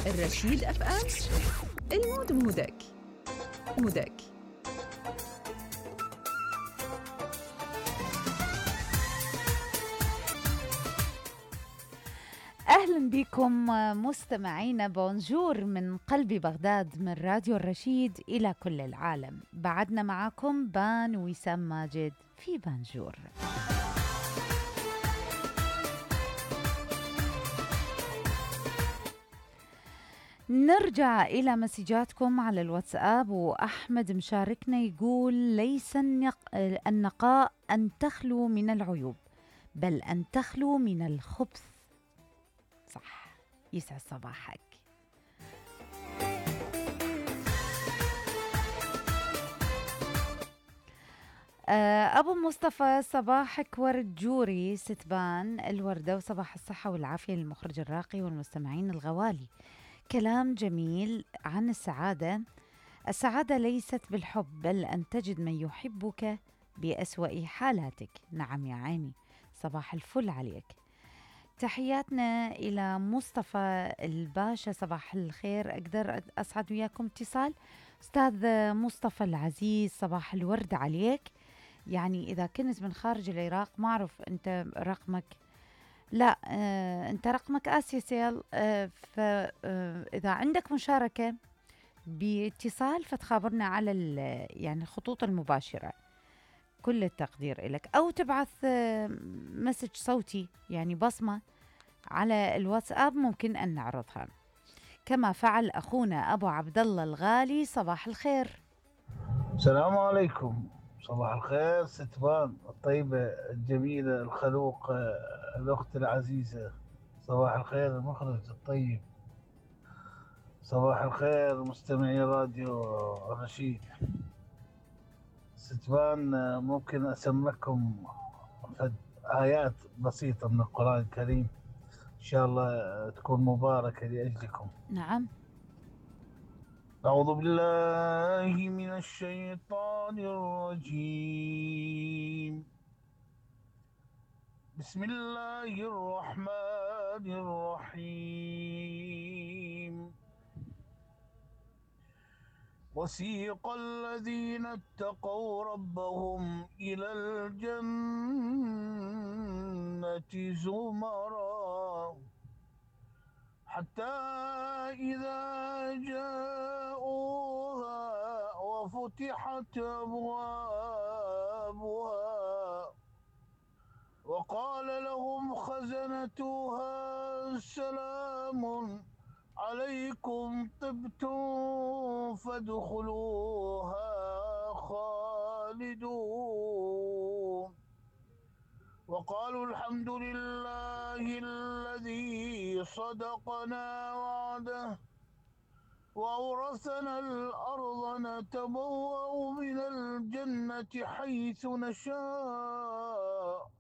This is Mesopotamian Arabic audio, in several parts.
الرشيد اف ام، المود مودك. أهلا بكم مستمعينا، بونجور من قلب بغداد، من راديو الرشيد إلى كل العالم. بعدنا معكم بان وسام ماجد في بانجور. نرجع إلى مسجاتكم على الواتساب، وأحمد مشاركنا يقول: ليس النقاء أن تخلو من العيوب، بل أن تخلو من الخبث. صح، يسعد صباحك. أبو مصطفى: صباحك ورد جوري ستبان الوردة، وصباح الصحة والعافية للمخرج الراقي والمستمعين الغوالي. كلام جميل عن السعادة. السعادة ليست بالحب، بل أن تجد من يحبك بأسوأ حالاتك. نعم يا عيني، صباح الفل عليك. تحياتنا إلى مصطفى الباشا، صباح الخير. أقدر أسعد وياكم اتصال؟ أستاذ مصطفى العزيز، صباح الورد عليك. يعني إذا كنت من خارج العراق، ما أعرف أنت رقمك، لا أنت رقمك آسيسيل، فإذا عندك مشاركة باتصال فتخابرنا على يعني الخطوط المباشرة. كل التقدير لك، أو تبعث مسج صوتي، يعني بصمة على الواتساب، ممكن أن نعرضها كما فعل أخونا أبو عبد الله الغالي. صباح الخير. السلام عليكم. صباح الخير ستبان الطيبة الجميلة الخلوق، الأخت العزيزة. صباح الخير المخرج الطيب. صباح الخير مستمعي راديو الرشيد. ستبان، ممكن أسمعكم آيات بسيطة من القرآن الكريم، إن شاء الله تكون مباركة لأجلكم. نعم. أعوذ بالله من الشيطان الرجيم. بسم الله الرحمن الرحيم. وسيق الذين اتقوا ربهم إلى الجنة زمرا حتى إذا جاءوها وفتحت أبوابها وقال لهم خزنتها سلام عليكم طبتم فادخلوها خالدون وقالوا الحمد لله الذي صدقنا وعده وأورثنا الأرض نتبوأ من الجنة حيث نشاء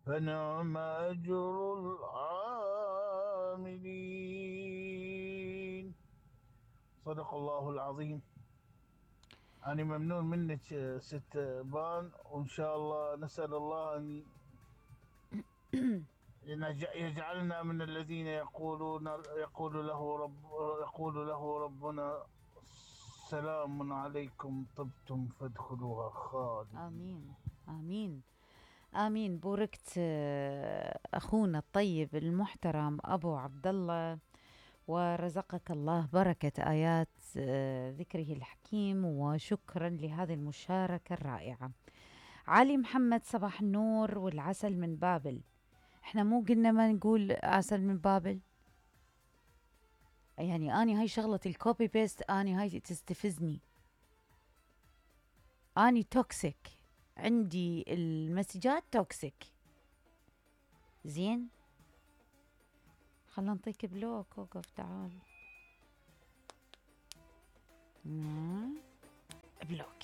فنعم أجر العاملين. صدق الله العظيم. أنا ممنون منك ست بان، وإن شاء الله نسأل الله أن يجعلنا من الذين يقول له ربنا سلام عليكم طبتم فادخلوها خالدين. آمين آمين آمين. بوركت أخونا الطيب المحترم أبو عبد الله، ورزقك الله بركة آيات ذكره الحكيم، وشكرا لهذه المشاركة الرائعة. علي محمد: صباح النور والعسل من بابل. احنا مو قلنا ما نقول عسل من بابل؟ يعني اني هاي شغلة الكوبي بيست، اني هاي تستفزني، اني توكسيك، عندي المسجات توكسيك. زين، خلنا نعطيك بلوك. وقف تعال. بلوك.